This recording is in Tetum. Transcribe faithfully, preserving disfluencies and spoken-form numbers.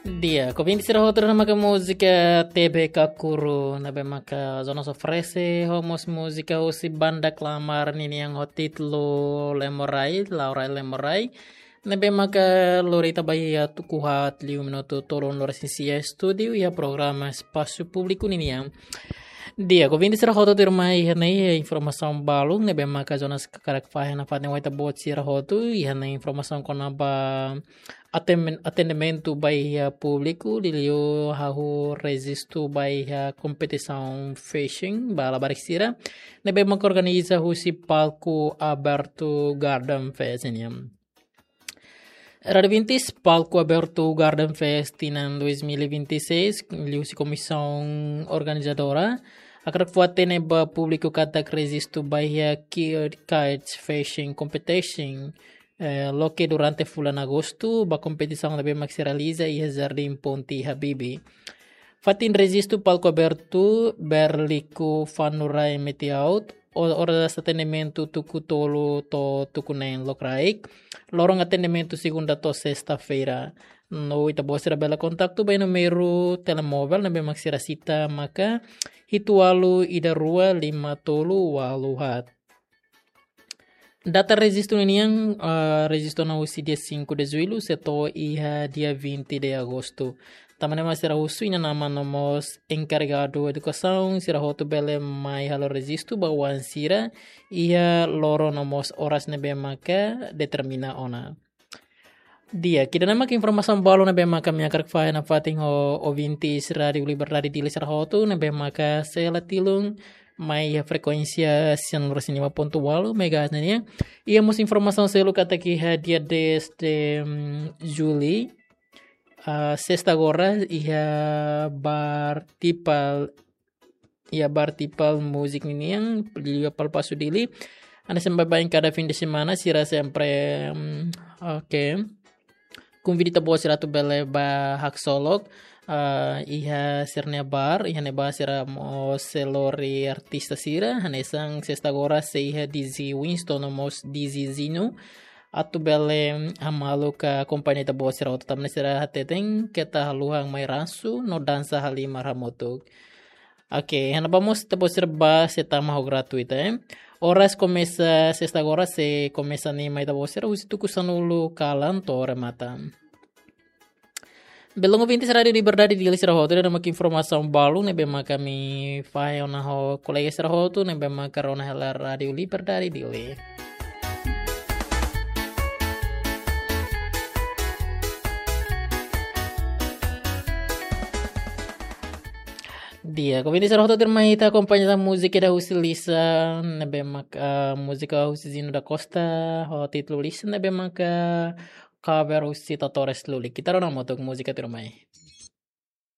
Di'ak, ouvinte sira hotu, ne'e maka múzika T B Kakuru, ne'ebé maka Jonas oferese, ho mós múzika husi banda Klamar ninian ho títulu Lemorai, Laurai Lemorai, ne'ebé maka lori ita ba iha tuku haat liu minutu tolunulu-resin-sia estúdiu iha programa Espasu Públiku ninian. Di'ak, ouvinte sira hotu, tuirmai iha ne'e informasaun balun ne'ebé maka Jonas hakarak fahe nafatin ho ita-boot sira hotu, iha ne'e informasaun kona-ba aten-, atendimentu ba iha públiku, liuliu hahú rejistu ba iha kompetisaun fashion ba labarik sira ne'ebé maka organiza husi Palco Aberto Garden Fest nian. Rádio Vintis, Palco Aberto Garden Fest tinan dois mil e vinte e seis, liuhusi komisaun organizadora hakarak fó-hatene ba públiku katak rejistu ba iha Kids Fashion Competition, eh, loke durante fulan Agostu, ba kompetisaun ne'ebé mak sei realiza iha Jardim Ponte Habibie. Fatin rejistu Palco Aberto, Berliku Fanurai Metiaut, o-, oras atendimentu tuku tolu to'o tuku neen lokraik, loron atendimentu segunda to'o sesta-feira. No ita-boot sira bele kontaktu ba númeru telemóvel ne'ebé mak sira sita maka hitu ualu ida rua lima tolu ualu haat. Data rejistu ninian, ah, rejistu ona husi dia cinco de julho, sei to'o iha dia vinte de agosto. Tanba ne'e mak sira husu inan-aman no mós enkarregadu edukasaun, sira hotu bele mai halo rejistu ba oan sira iha loron no mós oras ne'ebé maka determina ona. Di'ak, ida-ne'e maka informasaun balun ne'ebé maka ami hakarak fahe nafatin ho ouvintes Rádio Liberdade Dili sira hotu, ne'ebé maka sei la tilun mai iha frekuénsia sianulu-resin-lima pontu ualu megahertz nian. Iha mós informasaun seluk katak iha dia dez de, mm, julho, ah, sesta agora, iha Bar Tipal, iha Bar Tipal Music ninian, liuliu Palpasu Dili. Hanesan baibain kada fim de semana, sira sempre, mm, oke. Konvida ita-boot sira atu bele bá haksolok, ah, iha sira-nia bar, iha ne'ebá sira mós sei lori artista sira, hanesan sesta agora sei iha D J Winston no mós D J Zino, atu bele hamaluk akompaña ita-boot sira hotu, tanba ne'e sira hateten keta haluha mai ransu no dansa halimar hamutuk. Oke, iha ne'ebá mós ita-boot sira bá sei tama ho gratuita, eh. Oras komesa sesta agora sei komesa anima ita-boot sira husi tuku sanulu kalan to'o remata. Belun ouvintes Rádio Liberdade Dili sira hotu, ida-ne'e maka informasaun balun ne'ebé maka ami fahe ona ho kolega sira hotu ne'ebé maka rona hela Rádio Liberdade Dili. Di'ak, ouvinte sira hotu, tuirmai ita akompaña tan múzika ida husi Lisa, ne'ebé maka, ah, múzika husi Zino da Costa, ho títulu Lisa, ne'ebé maka cover husi Totores Lulik. Ita rona hamutuk múzika tuirmai.